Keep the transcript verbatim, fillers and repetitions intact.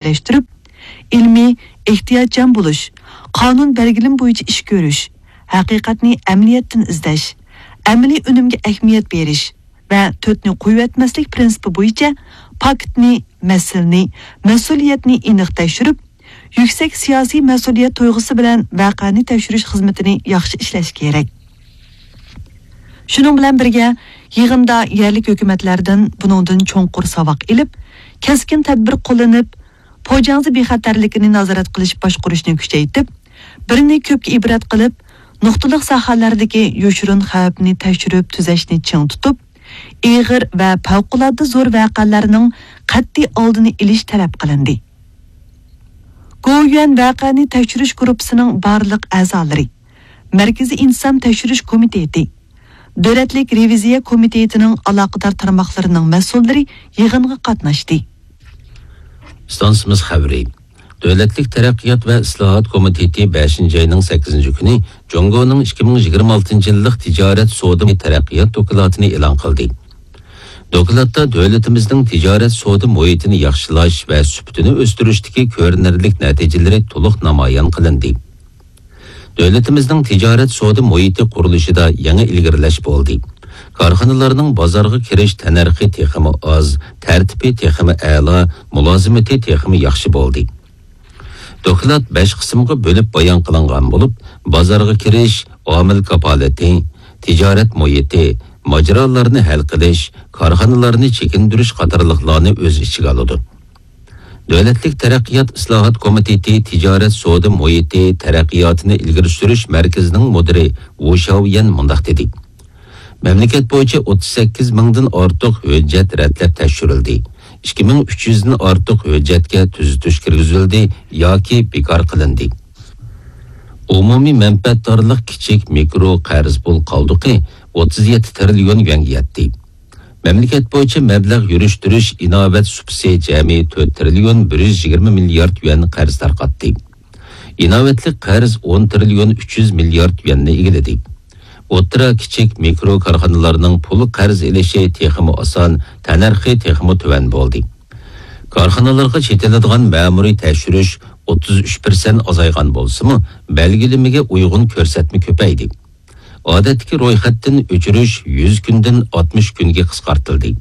بىرلەشتۈرۈپ، ئىلمىي، ئېھتىياتچان بولۇش، قانۇن بەلگىلىمە بويىچە ئىش كۆرۈش، ھەقىقەتنى ئەمەلىيەتتىن ئىزدەش، ئەمەلىي ئۈنۈمگە ئەھمىيەت بېرىش ۋە تۆتنى قويۇۋەتمەسلىك پىرىنسىپى بويىچە پاكىتنى، مەسىلىنى، مەسئۇلىيەتنى ئېنىق تەكشۈرۈپ، يۈكسەك سىياسىي مەسئۇلىيەت تۇيغۇسى بىلەن ۋەقەنى تەكشۈرۈش خىزمىتىنى ياخشى ئىشلەش كېرەك. شۇنىڭ بىلەن بىرگە، يىغىندا يەرلىك ھۆكۈمەتلەردىن بۇنىڭدىن چوڭقۇر ساۋاق ئېلىپ، كەسكىن تەدبىر قوللىنىپ، پوجاڭزى بىخەتەرلىكىنى نازارەت قىلىش باشقۇرۇشنى كۈچەيتىپ، بىرنى كۆپكە ئىبرەت قىلىپ، نۇقتىلىق ساھەلەردىكى يوشۇرۇن خەۋپنى تەكشۈرۈپ تۈزەشنى چىڭ تۇتۇپ، ئېغىر ۋە پەۋقۇلئاددە زور ۋەقەلەرنىڭ قەتئىي ئالدىنى ئېلىش تەلەپ قىلىندى. گوۋۇيۈەن ۋەقەنى تەكشۈرۈش گۇرۇپپىسىنىڭ بارلىق ئەزالىرى، مەركىزىي ئىنتىزام تەكشۈرۈش كومىتېتى، دۆلەتلىك رېۋىزىيە كومىتېتىنىڭ ئالاقىدار تارماقلىرىنىڭ مەسئۇللىرى يىغىنغا قاتناشتى. ئىستانسىمىز خەۋىرى. دۆلەتلىك تەرەققىيات ۋە ئىسلاھات كومىتېتى بەشىنچى ئاينىڭ سەككىزىنچى كۈنى جۇڭگونىڭ ئىككى مىڭ يىگىرمە ئالتىنچى يىللىق تىجارەت سودا تەرەققىيات دوكلاتىنى ئېلان قىلدى. دوكلاتتا دۆلىتىمىزنىڭ تىجارەت سودا مۇھىتىنى ياخشىلاش ۋە سۈپىتىنى ئۆستۈرۈشتىكى كۆرۈنەرلىك نەتىجىلىرى تولۇق نامايان قىلىندى. دۆلىتىمىزنىڭ تىجارەت سودا مۇھىتى قۇرۇلۇشىدا يېڭى ئىلگىرىلەش بولدى. كارخانىلارنىڭ بازارغا كىرىش تەننەرخى تېخىمۇ ئاز، تەرتىپى تېخىمۇ ئەلا، مۇلازىمىتى تېخىمۇ ياخشى بولدى. دوكلات بەش قىسىمغا بۆلۈپ بايان قىلىنغان بولۇپ، بازارغا كىرىش، ئامىل كاپالىتى، تىجارەت مۇھىتى، ماجىرالارنى ھەل قىلىش، كارخانىلارنى چېكىندۈرۈش قاتارلىقلارنى ئۆز ئىچىگە ئالىدۇ. دۆلەتلىك تەرەققىيات ئىسلاھات كومىتېتى تىجارەت سودا مۇھىتى تەرەققىياتىنى ئىلگىرى سۈرۈش مەركىزىنىڭ مۇدىرى ۋۇ شاۋيەن مۇنداق دېدى: مەملىكەت بويىچە ئوتتۇز سەككىز مىڭدىن ئارتۇق ھۆججەت رەتلەپ تەكشۈرۈلدى. ئىككى مىڭ ئۈچ يۈزدىن ئارتۇق ھۆججەتكە تۈزىتىش كىرگۈزۈلدى ياكى بىكار قىلىندى. ئومۇمىي مەنپەئەتدارلىق كىچىك مىكرو قەرز پۇل قالدۇقى ئوتتۇز يەتتە تىرىليون يۈەنگە يەتتى. مەملىكەت بويىچە مەبلەغ يۈرۈشتۈرۈش ئىناۋەت سۇپىسى جەمئىي تۆت تىرىليون بىر يۈز يىگىرمە مىليارد يۈەن قەرز تارقاتتى. ئىناۋەتلىك قەرز ئون تىرىليون ئۈچ يۈز مىليارد يۈەننى ئىگىلىدى. ئوتتۇرا، كىچىك، مىكرو كارخانىلارنىڭ پۇل قەرز ئېلىشى تېخىمۇ ئاسان، تەننەرخى تېخىمۇ تۆۋەن بولدى. كارخانىلارغا چېتىلىدىغان مەمۇرىي تەكشۈرۈش ئوتتۇز ئۈچ پىرسەنت ئازايغان بولسىمۇ، بەلگىلىمىگە ئۇيغۇن كۆرسەتمە كۆپەيدى. ئادەتتىكى رويخەتتىن ئۆچۈرۈش يۈز كۈندىن ئاتمىش كۈنگە قىسقارتىلدى.